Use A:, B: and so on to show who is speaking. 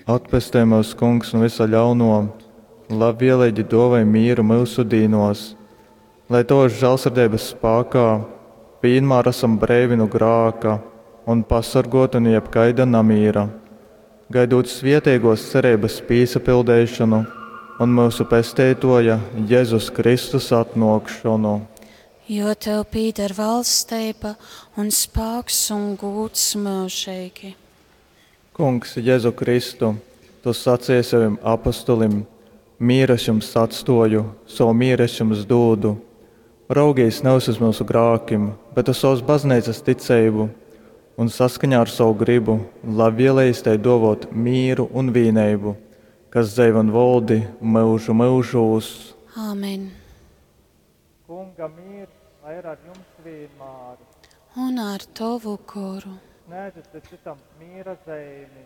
A: Atpestej myus, Kungs, nu vysa ļaunuo, labvieleigi duovoj mīru myusu dīnuos, lai tovys žālsirdeibys spākā vīnmār asam breivi nu grāka un pasorguoti nu jebkaida namīra, gaidūt svieteiguos cereibys pīsapildeišonu un myusu Pesteituoja Jezus Kristus atnuokšonu.
B: Jo tev pīdar valsteiba un spāks un gūds myužeigi.
A: Kungs Jezu Kristu, tu saceji sovim apostolim, Mīru es jums atstōju, sovu mīru es jums dūdu. Raugīs nevis uz myusu grākim, bet uz sovas bazneicas ticeibu un saskaņā ar sovu grybu labvielejas tai dōvōt mīru un vīneibu, kas dzeivi un voldi myužu myužūs.
B: Āmen.
A: Kunga mīrs lai ir ar jums vīnmār.
B: Un ar tovu goru.
A: Sniedzit cytam mīra zeimi.